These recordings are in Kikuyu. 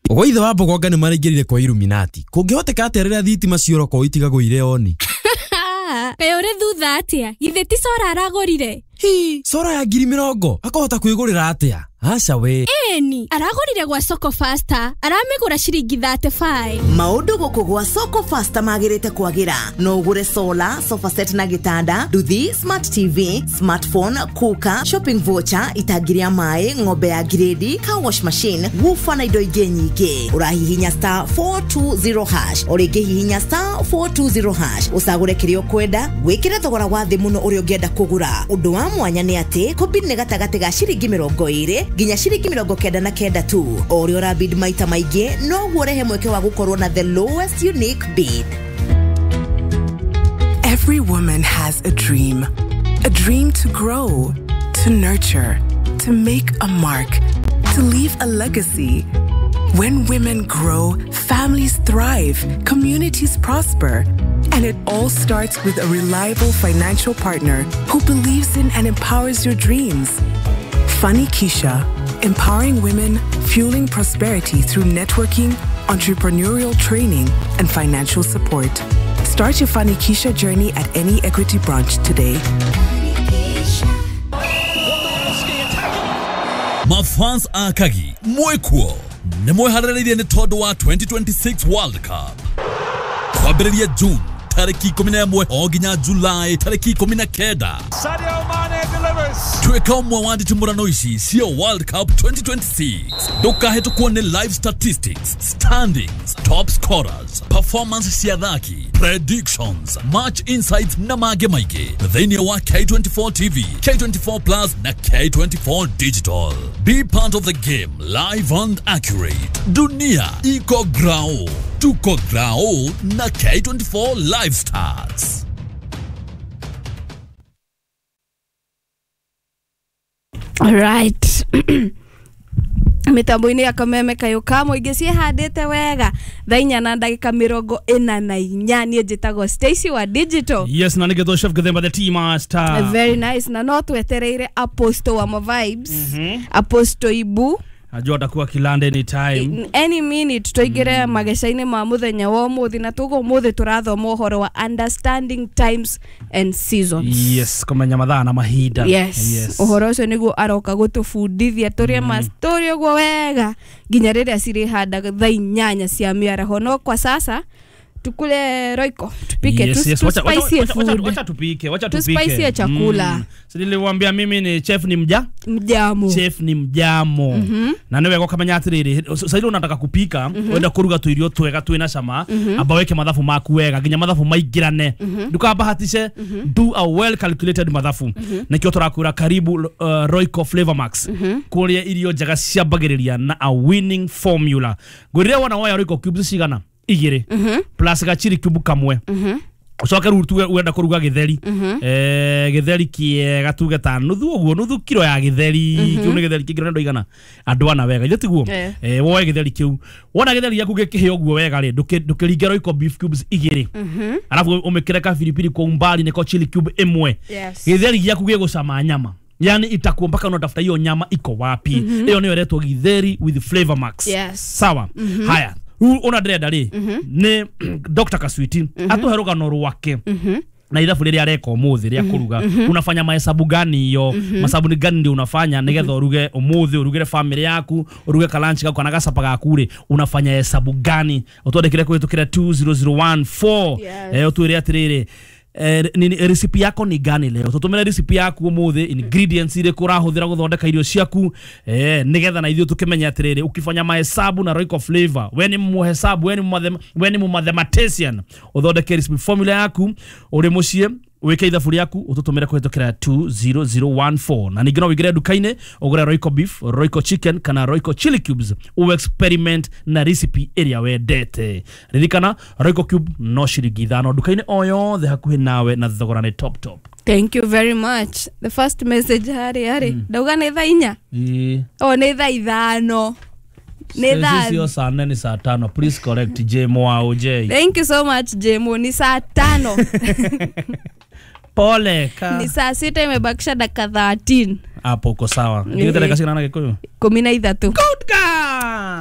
Gwa ithe wa Mbogonga nĩ maraingĩrire kwa Illuminati. Kũngĩhoteka atĩa rĩrĩa thitima ciora itigagwo irĩ oni? Kaĩ ũrĩ thutha atĩa? Githĩ ti cora aragũrire? Hi, cora ya 20,000 akahota kwĩgũrĩra atĩa? Aca we. Ĩni, aragũrire gwa Soko Faster, aramĩgũra ciringi 35. Maũndũ gũkũ gwa Soko Faster magĩrĩte kwagĩra. No ũgũre solar, sofa set na gĩtanda, nduthi, smart TV, smartphone, cooker, shopping voucher, itangi rĩa maĩ, ng'ombe ya grade, car wash machine, woofer na indo ingĩ nyingĩ. Ũrahihinya star 420 hash, o rĩngĩ hihinya star 420 hash, ũcagũre kĩrĩa ũkwenda, wĩkĩre thogora wa thĩ mũno ũrĩa ũngĩenda kũgũra. Ũndũ wa mwanya nĩ atĩ kũbid nĩ gatagatĩ ga ciringi 20 nginya ciringi 99 tu. O ũrĩa ũrabid maita maingĩ noguo ũrehe mweke wa gũkorwo na the lowest unique bid. Every woman has a dream. A dream to grow, to nurture, to make a mark, to leave a legacy. When women grow, families thrive, communities prosper. And it all starts with a reliable financial partner who believes in and empowers your dreams. Fanikisha, empowering women, fueling prosperity through networking, entrepreneurial training, and financial support. Start your Fanikisha journey at any Equity branch today. Mafans a Kagi, mwekuo, nĩ mwĩharĩrĩirie nĩ tondũ wa 2026 World Cup. Kwambĩrĩria June tarĩki 11 o nginya July tarĩki 19. Sadio Mane delivers. Tuĩka ũmwe wa nditimũrano ici cia World Cup 2026. Ndũkahĩtũkwo nĩ live statistics, standings, top scorers, performance cia athaki, predictions, match insights na mangĩ maingĩ thĩinĩ wa K24 TV, K24 Plus na K24 Digital. Be part of the game live and accurate. Dunia iko grao, tuko grao na K24 Live Stars. Right. Mitambo-inĩ ya kameme kayũ ka mũingĩ ciĩhandĩte wega thaa 4 na ndagĩka 44. Niĩ njĩtagwo Stacy wa Digital. Yes, na nĩgetwo Chef Githemba the tea master. Very nice. Na no twetereire Apostle wa ma vibes. Apostle Ibu Najua atakuwa Kilande anytime. Any minute tũingĩre mageca-inĩ ma mũthenya wa ũmũthĩ, na tuga ũmũthĩ tũrathoma ũhoro wa understanding times and seasons. Yes, kũmenya mathaa na mahinda. Yes. Yes. Ũhoro ũcio nĩguo aroka gũtũbundithia tũrĩe mastori ũguo wega nginya rĩrĩa cirĩhanda thaa 8 cia mĩaraho. No kwa sasa tukule Royco, tupike. Yes, yes. Tuspicie food. Wacha tupike, wacha tupike. Tuspicie chakula. Si niliwaambia mimi ni chef ni mja? Mjamo. Chef ni mjamo. Na niwe ukamenya atiriri, sasa ile unataka kupika, wenda kuruga tuirio twega twina cama, amba weke mathabu maku wega, nginya mathabu maingirane. Ndukabahatishe, do a well calculated mathabu. Nikio turakwira karibu Royco Flavor Max. Kuria irio njega ciambagĩrĩria na a winning formula. Ngwĩrire wona woya Royco cubes cigana? Igĩrĩ plus gachiri cube kamwe. Ucoke rĩu tuge wenda kũruga gĩtheri, gĩtheri kĩega tuge ta nuthu ũguo, nuthu kiro ya gĩtheri kĩu nĩ gĩtheri kĩngĩ andũ igana andũ ana wega ithe tiguo. Woe gĩtheri kĩu, wona gĩtheri gĩaku gĩkĩhĩa ũguo wega rĩ, ndũkĩringe Royco beef cubes igĩrĩ, alafu ũmĩkĩre kabiribiri kwa umbali nĩko chili cube ĩmwe. Gĩtheri gĩaku gĩgũcama nyama, yani itakuwa mpaka unatafuta hiyo nyama iko wapi. Hiyo nĩyo ĩretwo githeri with Flavor Max. Yes. Sawa. Haya, rĩu ona ndĩrenda rĩ nĩ Dr. Kaswiti atũhe rũgano rwake na ithabu rĩrĩa areka ũmũthĩ rĩa kũruga. Unafanya mahesabu gani yo? Masabu ni gani ndio unafanya nĩgetha ũruge ũmũthĩ, ũrugĩre family yaku, ũruge kalanchi gaku kana gacapa gaku rĩ, unafanya hesabu gani? Ũtwandĩkĩre kũhĩtũkĩra 20014. Ũtwĩre atĩrĩrĩ, recipe yako ni gani leo? Tutumire recipe yaku umuthi, ingredients irĩkũ ũrahũthĩra gũthondeka irio ciaku, nĩgetha na ithuĩ tũkĩmenye atĩrĩrĩ, ukifanya mahesabu na Royco Flavor, we ni muhesabu, we ni mathematician, ũthondeke recipe formula yaku ũrĩ mũciĩ, wike ithabu rĩaku ũtũtũmĩre kũhĩtũkĩra 20014. Na ningĩ no wĩingĩre nduka-inĩ ũgũre Royco beef, Royco chicken kana Royco chili cubes, u experiment na recipe ĩrĩa wendete. Ririkana Royco cube no ciringi 5 nduka-inĩ o yothe hakuhĩ nawe, na thogora nĩ top top. Thank you very much. The first message hari ndauga nĩ thaa 4. Oh, nĩ thaa 5. Nĩ thaa sio saa 4, ni saa 5. Please correct J Mwao J. Thank you so much J Mo, ni saa 5. Pole ka. Ni saa 6 imebakisha dakika 13. Hapo uko sawa. Ndio dakika cigana na Gikuyu? 13. Good girl.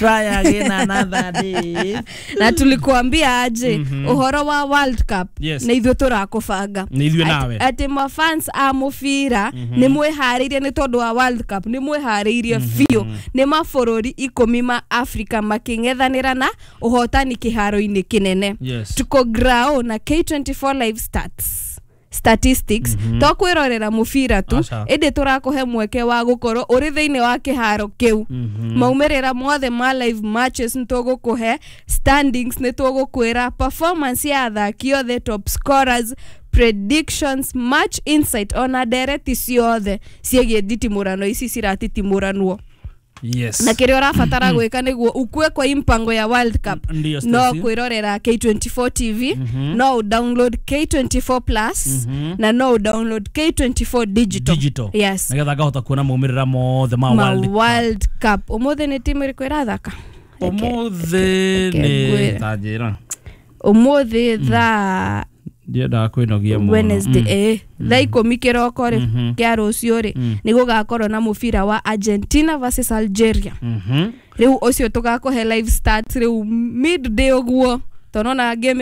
Try again another day. Na tulikuambia aje ũhoro wa World Cup? Yes. Nĩ ithuĩ tũrakũbanga. Nĩ ithuĩ nawe. Atĩ mafans a mũbira nĩ mwĩharĩirie nĩ tondũ wa World Cup, nĩ mwĩharĩirie biũ. Nĩ mabũrũri 10 ma Africa makĩng'ethanĩra na ũhotani kĩharo-inĩ kĩnene. Yes. Tuko grao na K24 live stats, statistics. To kwĩrorera mũbira tu, Aca. ĩndĩ tũrakũhe mweke wa gũkorwo ũrĩ thĩinĩ wa kĩharo kĩu. Maumĩrĩra mothe ma live matches nĩ tũgũkũhe, standings nĩ tũgũkwĩra, performance ya athaki othe, top scorers, predictions, match insight, ona ndereti ciothe ciĩgiĩ nditimũrano ici ciratitimũranwo. Yes. Na kĩrĩa ũrabatara gwĩka nĩguo ukue kwa impango ya World Cup, Ndiyo, no Stacy. kwĩrorera K24 TV, no ũdownload K24 Plus, na no ũdownload K24 Digital. Digital. Yes. Nĩgetha ngahota kuona maumĩrĩra mothe ma Ma World Cup. World Cup. Ũmũthĩ nĩ timu ĩrĩkũ ĩrathaka? Ũmũthĩ Reke nĩ ngwĩre. ta njĩra. Ũmũthĩ thaa Ndiendaga kwĩnogia mũno. Wednesday, thaa 10 kĩroko rĩ, kĩa rũciũ rĩ, nĩ gũgakorwo na mũbira wa Argentina versus Algeria. Rĩu ũcio tũgakũhe live stats rĩu midday ũguo, tondũ ona game.